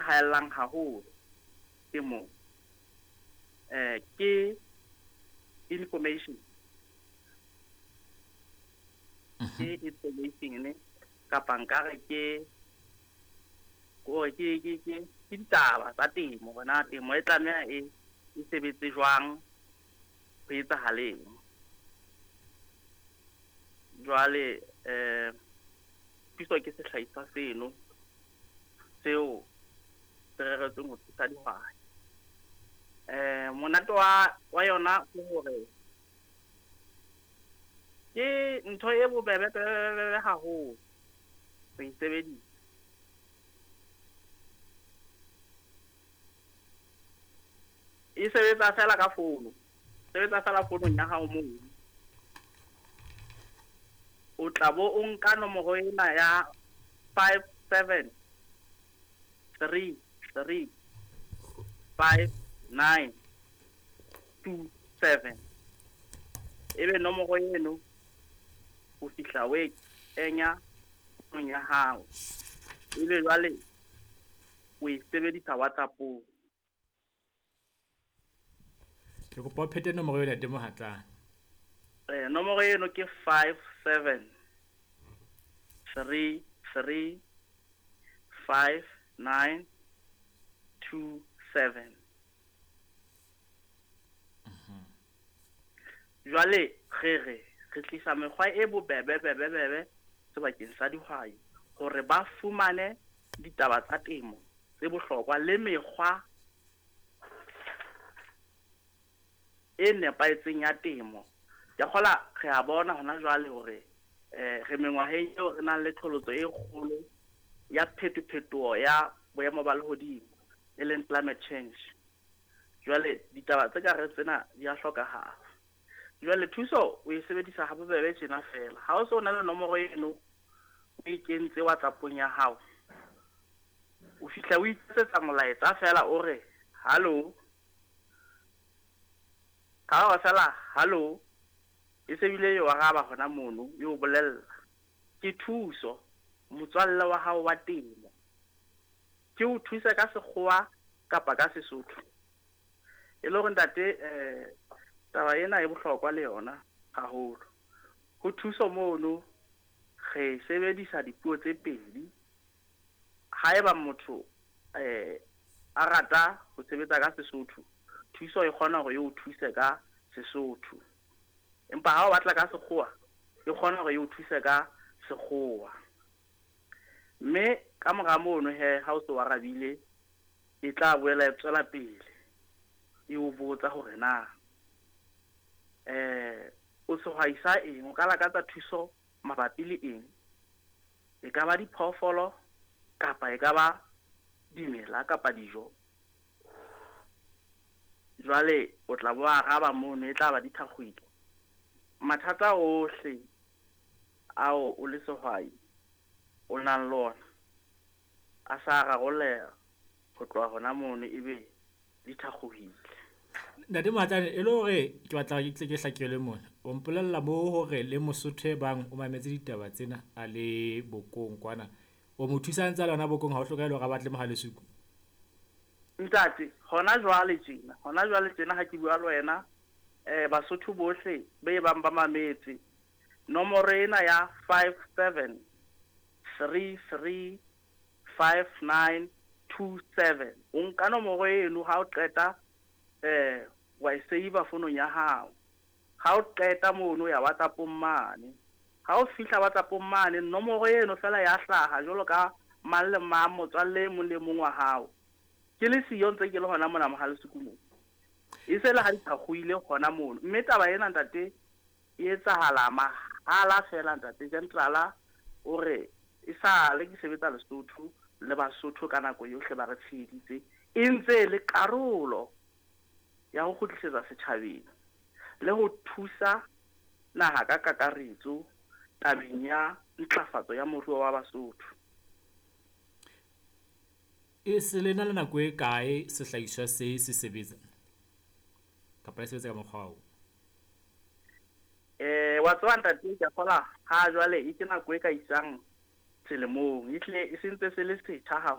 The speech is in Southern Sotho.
haellang haholo temong ke information. Ke information kapa nkare ke hore ke ditaba tsa temo, hore na temo e tlameha e sebetse jwang, ho etsahaleng. Jwale thuso ke sehlahiswa seno seo se reretsweng ho thusa dihwai. Monate wa yona ke hore ke ntho e bobebe haholo ho e sebedisa. E sebetsa fela ka fono, sebetsa fela fonong ya hao moo. O tla bo o nka nomoro ena ya 5 7 3 3 5 9 2 7. Ebe nomoro eno o fihla o e kenya fonong ya hao. Ebe jwale o e sebedisa WhatsApp-ong. Ke kopa o phete nomoro eo, Ntate Mohatlane. Nomoro eno ke 5 7 3 3 5 9 2 7. Jwale re tlisa mekgwa e bobebe bebe sebakeng sa dihwai hore ba fumane ditaba tsa temo tse bohlokwa le mekgwa e nepahetseng ya temo. Ke kgola re a bona hona jwale hore re mengwaheng eo re nang le qholotso e kgolo ya phetophetoho ya boemo ba lehodimo, e leng climate change. Jwale ditaba tse ka re tsena di a hlokahala. Jwale thuso o e sebedisa ha bobebe tjena fela. Ha o so na le nomoro eno o e kentse WhatsApp-ong ya hao, o fihla o itsetsa molaetsa fela o re hallo. Ha o fela hallo, e se bile e o araba hona mono, e o bolella. Ke thuso motswalle wa hao wa temo. Ke o thusa ka sekgowa kapa ka Sesotho. E le hore ntate taba ena e bohlokwa le yona haholo. Ho thuso mono re sebedisa dipuo tse pedi. Haeba motho a rata ho sebetsa ka Sesotho, thuso e kgona hore e o thuse ka Sesotho. Empa ha o batla ka sekgowa, e kgona hore e o thuse ka sekgowa. Mme ka mora mono he ha o se o arabile, e tla boela e tswela pele e o botsa hore na o sehwai sa eng, o ka lakatsa thuso mabapi le eng. E ka ba diphoofolo kapa e ka ba dimela kapa dijo. Jwale o tla bo araba mono, e tla ba dithakgwedi. Mathata ohle ao o le sehwai o nang le ona a sa rarolleha ho tloha hona mono, ebe di thakgohile. Ntate Mohatlane, e le hore ke batla ke tle ke hlakelwe mona. O mpolella mo hore le Mosotho e bang o mametse ditaba tsena a le bokong kwana, o mo thusa ntse a le hona bokong, ha o hlokahale hore a batle Mohalesuku. Ntate, hona jwale tjena ha ke bua le wena, Basotho bohle be bang ba mametse nomoro ena ya 5 7 3 3 5 9 2 7. O nka nomoro eno ha o qeta wa e save fonong ya hao. Ha o qeta mono ya WhatsApp-ong mane. Ha o fihla WhatsApp-ong mane, nomoro eno fela ya hlaha jwalo ka mang le mang, motswalle e mong le mong wa hao. Ke le siyo ntse ke le hona mona Mohalesuku moo. E se le ha di thakgohile hona mono. Mme taba ena ntate e etsahala mahala fela ntate. Gentrala o re e sale ke sebetsa Lesotho le Basotho ka nako yohle ba re tsheheditse, e ntse le karolo ya ho kgutlisetsa setjhabeng le ho thusa naha ka kakaretso tabeng ya ntlafatso ya moruo wa Basotho. E se le na le nako e kae sehlahiswa se se sebetsa kapa le sebetsa ka mokgwa oo? Wa tseba ntate, ke a kgola ha jwale e ke nako e ka isang selemong, ehlile e sentse se le setjha haholo.